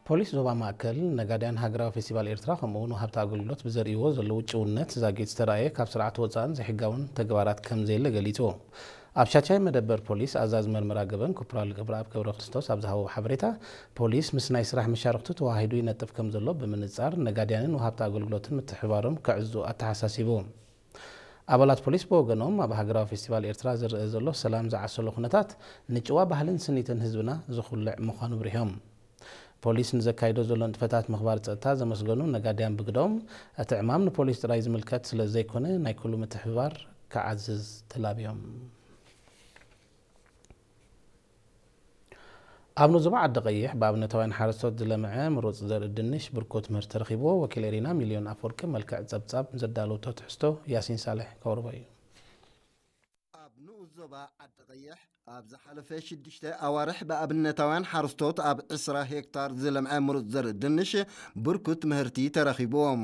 ፖሊስ ዞባ ማእከል፣ ነጋድያን ሃገራዊ ፌስቲቫል ኤርትራ ከምኡ'ውን ወሃብቲ ኣገልግሎት ብዘርእይዎ ዘለዉ ጭውነት ዛጊት ዝተራእየ ካብ ስርዓት ወጻእን ዘይሕጋውን ተግባራት ከም ዘየለ ገሊጹ። ኣብ ሻቻይ መደበር ፖሊስ ኣዛዚ መርመራ ገበን ኮፕራል ገብረኣብ ገብረክርስቶስ ኣብ ዝሃቦ ሓበሬታ፣ ፖሊስ ምስ ናይ ስራሕ መሻርኽቱ ተዋሂዱ ይነጥፍ ከም ዘሎ ብምንጻር፣ ነጋድያንን ወሃብቲ ኣገልግሎትን ምትሕብባሮም ከዕዙ ኣተሓሳሲቡ። ኣባላት ፖሊስ ብወገኖም፣ ኣብ ሃገራዊ ፌስቲቫል ኤርትራ ዝረአ ዘሎ ሰላም ዝዓሰሎ ኩነታት ንጭዋ ባህልን ስኒትን ህዝብና ዝኹልዕ ምዃኑ ብሪሆም። ፖሊስ ንዘካይዶ ዘሎ ንጥፈታት ምኽባር ጸጥታ ዘመስገኑ ነጋድያን ብግዶም፣ እቲ ዕማም ንፖሊስ ጥራይ ዝምልከት ስለ ዘይኮነ ናይ ኩሉ ምትሕብባር ክዓዝዝ ተላብዮም። ኣብ ኑዞባ ዓዲ ቀይሕ ብኣብነታውያን ሓረስቶት ዝለምዐ ምሩጽ ዘርኢ ድንሽ ብርኩት ምህርቲ ተረኺብዎ። ወኪል ኤሪና ሚልዮን ኣፈወርቂ መልክዕ ጸብጻብ ዘዳለወቶ ትሕዝቶ ያሲን ሳልሕ ከቕርቦ እዩ። ኣብ ንኡስ ዞባ ዓዲ ቀይሕ ኣብ ዝሓለፈ ሽዱሽተ ኣዋርሕ ብኣብነታውያን ሓረስቶት ኣብ ዕስራ ሄክታር ዝለምዐ ምሩጽ ዘርኢ ድንሽ ብርኩት ምህርቲ ተረኺብዎም።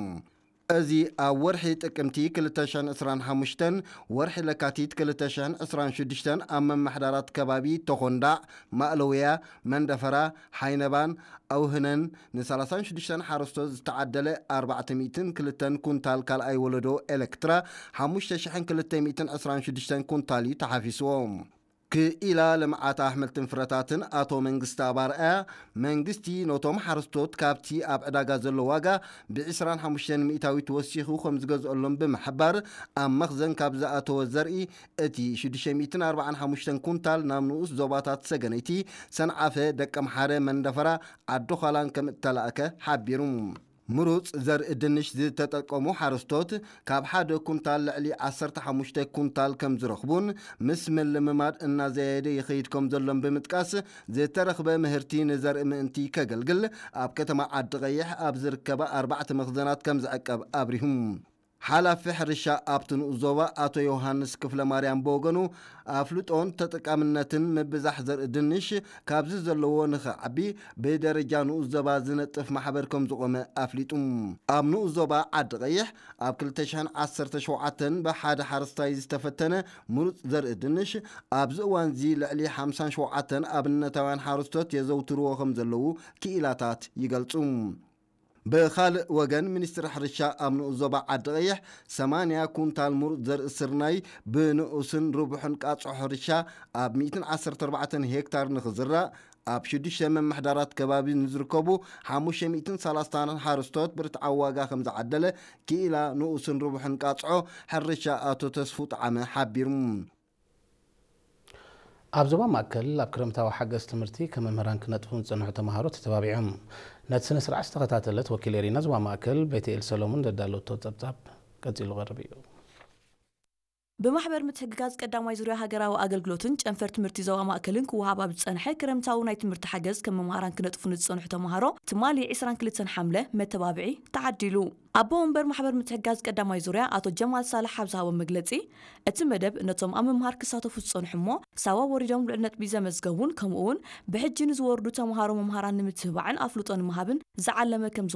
እዚ ኣብ ወርሒ ጥቅምቲ ክልተ ሽሕን ዕስራን ሓሙሽተን፣ ወርሒ ለካቲት ክልተ ሽሕን ዕስራን ሽዱሽተን ኣብ መመሓዳራት ከባቢ ተኾንዳዕ፣ ማእለውያ፣ መንደፈራ፣ ሓይነባን ኣውህነን ንሰላሳን ሽዱሽተን ሓረስቶት ዝተዓደለ ኣርባዕተ ሚእትን ክልተን ኩንታል ካልኣይ ወለዶ ኤሌክትራ ሓሙሽተ ሽሕን ክልተ ሚእትን ዕስራን ሽዱሽተን ኩንታል እዩ ተሓፊስዎ። ክኢላ ልምዓት ኣሕምልትን ፍረታትን ኣቶ መንግስቲ ኣባርኣያ፣ መንግስቲ ነቶም ሓረስቶት ካብቲ ኣብ ዕዳጋ ዘሎ ዋጋ ብዕስራን ሓሙሽተን ሚእታዊት ወሲኹ ከም ዝገዝኦሎም ብምሕባር፣ ኣብ መኽዘን ካብ ዝኣተወ ዘርኢ እቲ ሽዱሽተ ሚእትን ኣርባዓን ሓሙሽተን ኩንታል ናብ ንኡስ ዞባታት ሰገነይቲ፣ ሰንዓፈ፣ ደቀምሓረ፣ መንደፈራ፣ ዓዲ ዃላን ከም እተላእከ ሓቢሩ። ምሩጽ ዘርኢ ድንሽ ዝተጠቀሙ ሓረስቶት ካብ ሓደ ኩንታል ልዕሊ ዓሰርተ ሓሙሽተ ኩንታል ከም ዝረኽቡን ምስ ምልምማድ እናዘየደ ይኸይድ ከም ዘሎን ብምጥቃስ፣ ዝተረኽበ ምህርቲ ንዘርኢ ምእንቲ ከገልግል ኣብ ከተማ ዓዲ ቀይሕ ኣብ ዝርከባ ኣርባዕተ መኽዘናት ከም ዝዕቀብ ኣብሪሁ። ሓላፊ ሕርሻ ኣብቲ ንኡስ ዞባ ኣቶ ዮሃንስ ክፍለ ማርያም ብወገኑ፣ ኣፍልጦን ተጠቃምነትን ምብዛሕ ዘርኢ ድንሽ ካብዚ ዘለዎ ንኽዓቢ ብደረጃ ንኡስ ዞባ ዝነጥፍ ማሕበር ከም ዝቖመ ኣፍሊጡ። ኣብ ንኡስ ዞባ ዓዲ ቀይሕ ኣብ ክልተ ሽሕን ዓሰርተ ሸውዓተን ብሓደ ሓረስታይ ዝተፈተነ ምሩጽ ዘርኢ ድንሽ ኣብዚ እዋንዚ ልዕሊ ሓምሳን ሸውዓተን ኣብነታውያን ሓረስቶት የዘውትርዎ ከም ዘለዉ ክኢላታት ይገልጹ። ብኻልእ ወገን፣ ሚኒስትሪ ሕርሻ ኣብ ንኡስ ዞባ ዓዲ ቀይሕ ሰማንያ ኩንታል ምሩጽ ዘርኢ ስርናይ ብንኡስን ርቡሕን ቃጽዖ ሕርሻ ኣብ ሚእትን ዓሰርተ ኣርባዕተን ሄክታር ንኽዝራእ ኣብ ሽዱሽተ ምምሕዳራት ከባቢ ንዝርከቡ ሓሙሽተ ሚእትን ሰላሳን ሓረስቶት ብርትዓዊ ዋጋ ከም ዝዓደለ ክኢላ ንኡስን ርቡሕን ቃጽዖ ሕርሻ ኣቶ ተስፉ ጠዓመ ሓቢሩ። ኣብ ዞባ ማእከል ኣብ ክረምታዊ ሓገዝ ትምህርቲ ከም መምህራን ክነጥፉ ዝጸንሑ ተምሃሮ ተተባቢዖም። ነቲ ስነ ስርዓት ዝተኸታተለት ወኪል ኤሪና ዞባ ማእከል ቤተኤል ሰሎሞን ዘዳለወቶ ጸብጻብ ቀጺሉ ቀርብ እዩ። ብማሕበር ምትሕግጋዝ ቀዳማይ ዙርያ ሃገራዊ ኣገልግሎትን ጨንፈር ትምህርቲ ዞባ ማእከልን ክወሃብ ኣብ ዝጸንሐ ክረምታዊ ናይ ትምህርቲ ሓገዝ ከም መምሃራን ክነጥፉ ንዝጸንሑ ተምሃሮ ትማሊ ዕስራን ክልተን ሓምለ መተባብዒ ተዓዲሉ። ኣቦ ወንበር ማሕበር ምትሕግጋዝ ቀዳማይ ዙርያ ኣቶ ጀማል ሳልሕ ኣብ ዝሃቦ መግለጺ፣ እቲ መደብ ነቶም ኣብ ምምሃር ክሳተፉ ዝጸንሑ እሞ ሳዋ ወሪዶም ልዑል ነጥቢ ዘመዝገቡን ከምኡ እውን ብሕጂ ንዝወርዱ ተምሃሮ መምሃራን ንምትብባዕን ኣፍልጦ ንምሃብን ዝዓለመ ከም